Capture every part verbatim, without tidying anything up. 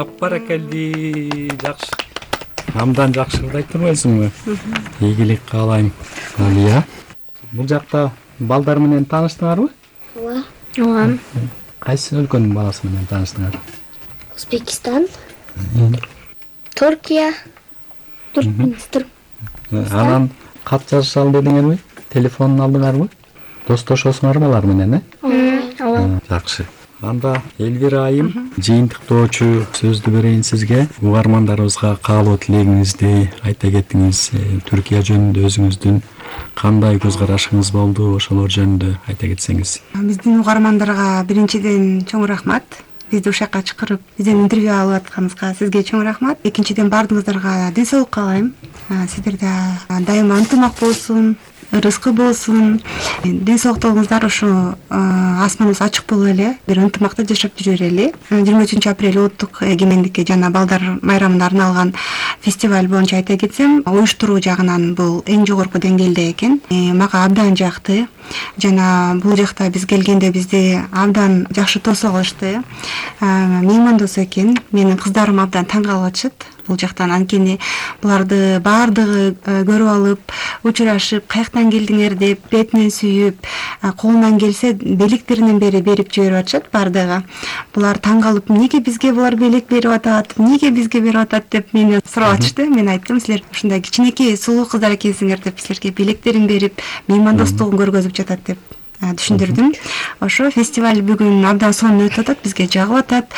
Баракалди, жакшы. Абдан жакшы ырдайт турбайсыңбы? Ийгилик каалайм. Алия. Бул жакта балдар менен тааныштыңарбы? Ооба. Ооба. Кайсы өлкөнүн баласы менен тааныштыңар? Өзбекистан, Туркия, Туркменистан. Анан кат жазышалы дедиңерби? Телефонун алдыңарбы? Достошосуңарбы алар менен, э? Ооба. Жакшы. Анда Элвира айым, жыйынтыктоочу сөздү берейин сизге. Угармандарыбызга каалоо тилегиңизди айта кетиңиз. Түркия жөнүндө өзүңүздүн кандай көз карашыңыз болду, ошолор жөнүндө айта кетсеңиз. Биздин угармандарга биринчиден чоң рахмат. Бизди ушул жака чакырып, бизден интервью алып атканыңызга сизге чоң рахмат. Экинчиден баардыгыңыздарга ден соолук каалайм. Сиздерде дайыма ынтымак болсун, ырыскы болсун. Ден соолуктугуңуздар ушу асманыбыз ачык болуп эле, бир ынтымакта жашап жүрө берели. жыйырма үчүнчү апрель улуттук эгемендикке жана балдар майрамына арналган фестиваль боюнча айта кетсем, уюштуруу жагынан бул эң жогорку деңгээлде экен. Мага абдан жакты. Жана бул жакта биз келгенде бизди абдан жакшы тосуп алышты. Меймандос экен. Менин кыздарым абдан таң калып атышат бул жактан. Анткени буларды баардыгы көрүп алып, учурашып, каяктан келдиңер деп, бетинен сүйүп, колунан келсе белектеринен бери берип жиберип атышат баардыгы. Булар таң калып, эмнеге бизге булар белек берип атат, эмнеге бизге берип атат деп мени сурап атышты. Мен айттым, силер ушундай кичинекей сулуу кыздар экенсиңер деп, силерге белектерин берип, меймандостугун көргөзүп жатат деп түшүндүрдүм. Ошо фестиваль бүгүн абдан сонун өтүп атат, бизге жагып атат.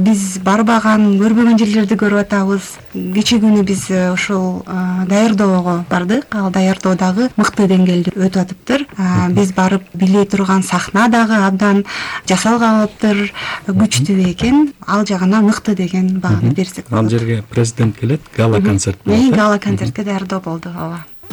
Биз барбаган, көрбөгөн жерлерди көрүп атабыз. Кечээ күнү биз ушул даярдоого бардык. Ал даярдоо дагы мыкты деңгээлде өтүп атыптыр. Биз барып биле турган сахна дагы абдан жасалганыптыр, күчтүү экен. Ал жагынан мыкты деген бааны берсек болот. Ал жерге президент келет, гала концерт болот. Гала концертке даярдоо болду, ооба.